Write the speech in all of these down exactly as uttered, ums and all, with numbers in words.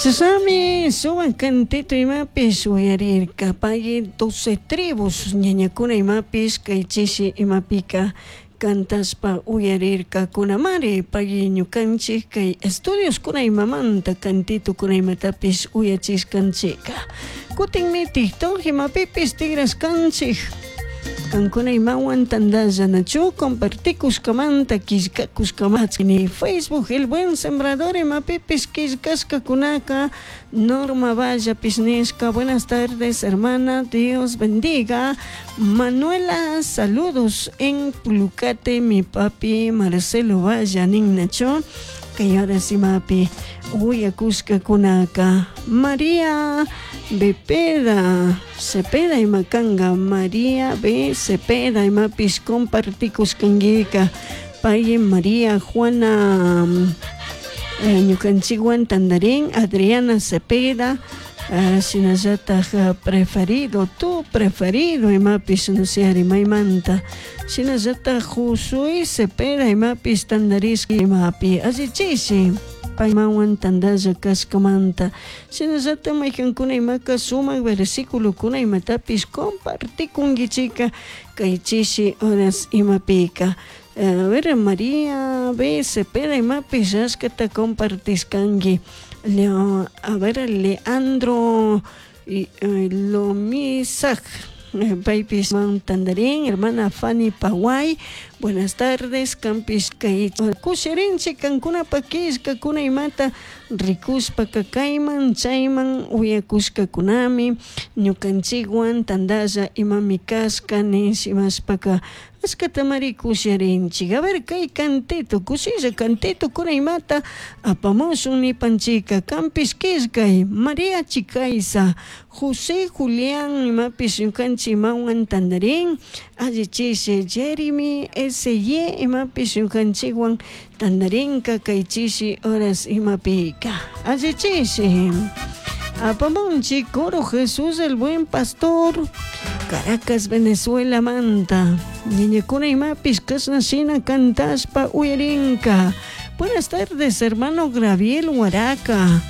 Chashnami sumak cantito imapish uyarirka pay doce tribus ñañakuna imapish kay chishi imapika cantashpa uyarirkakunamari pay ñukanchik kay estudios imamanta cantitokuna imatapish uyachishkanchika. Kutinmi TikTok imapipish tigrashkanchik kankuna imawan tandalla nachu compartikushkamanta killkakushkamanta Facebook El Buen Sembrador imapipish killkashkakunaka Norma Vallapish nishka buenas tardes hermana, Dios bendiga. Manuela, saludos en Pulucate, mi papi Marcelo Valla ninnachu kay horas imapi uyakushkakunaka María Bepeda Cepeda imakanga María B Cepeda imapish compartikushkankika pay María Juana eh, ñukanchikwan tandarin Adriana Cepeda uh, shinallatak uh, preferido tu preferido imapish nusiari maymanta shinallatak Josué Cepeda imapish tandarishka imapi allichishi paymawan tandalla kashkamanta shinallatak maykankuna imaka sumak versiculokuna imatapish compartikunkichika kay chishi horas imapika. A ver, María B. Cepeda imapish ashkata compartishkanki. Leo, a ver, Leandro y, eh, Lomisak paypish man tandarin hermana Fanny Paway buenas tardes kampish kay kushirinchik kankunapa killkakuna imata rikushpaka kayman chayman uyakushkakunami ñukanchikwan tandalla imami kashka nish imashpaka ashkatamari kusharinchik. A ver, kay cantito kushilla cantito kuna imata apamushun nipanchika kampish killkay María Chicaiza José Julián imapish ñukanchik imawan tandarin allichishi Jeremy S Y imapish ñukanchikwan tandarinka kay chishi horas imapika allichishi apamunchik coro Jesús el Buen Pastor Caracas Venezuela manta ñañakuna imapish kashna shina cantashpa uyarinka. Buenas tardes hermano Graviel Huaraca,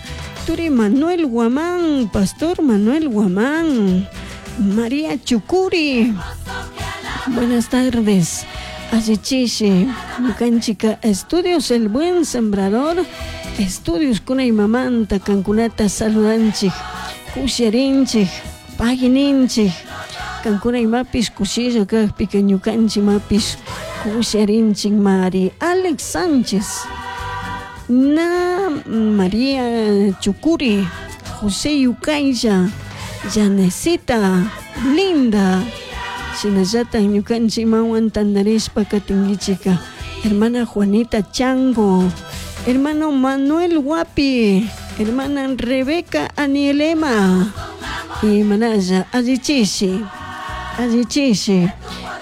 Turi Manuel Guamán, Pastor Manuel Guamán, María Chucuri. Buenas tardes. Allichishi, ñukanchika Estudios El Buen Sembrador, Estudios kuna imamanta kankunata saludanchik, kusharinchik, pagininchik, kankuna imapish kushilla kakpika ñukanchik imapish kusharinchik mari. Alex Sánchez, Na María Chucuri, José Yucaya, Janecita, Linda, shinallatak ñukanchik imawan tandarishpa katinkichika hermana Juanita Chango, hermano Manuel Guapi, hermana Rebeca Anielema, y manalla allichishi, allichishi,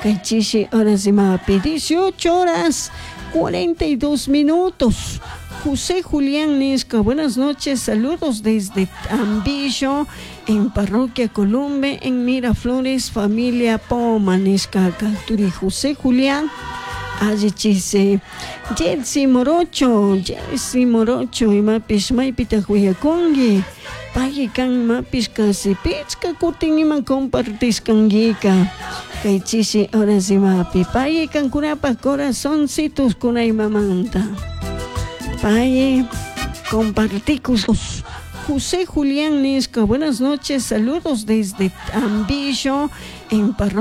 kay chishi horas imapi dieciocho horas cuarenta y dos minutos. José Julián Nisca, buenas noches, saludos desde Tambillo, en Parroquia Columbe, en Miraflores, familia Poma, Nisca, Turi José Julián, allichise, Jetsi Morocho, Jetsi Morocho, imapish maypita huyakunki, pay kan imapish kasi pichka kutin ima compartishkankika, kay chishi horas imapi, pay kankunapaj corazoncitos kuna imamanta. Pay comparticus. José Julián Nisca, buenas noches, saludos desde Tambillo, en Parroquia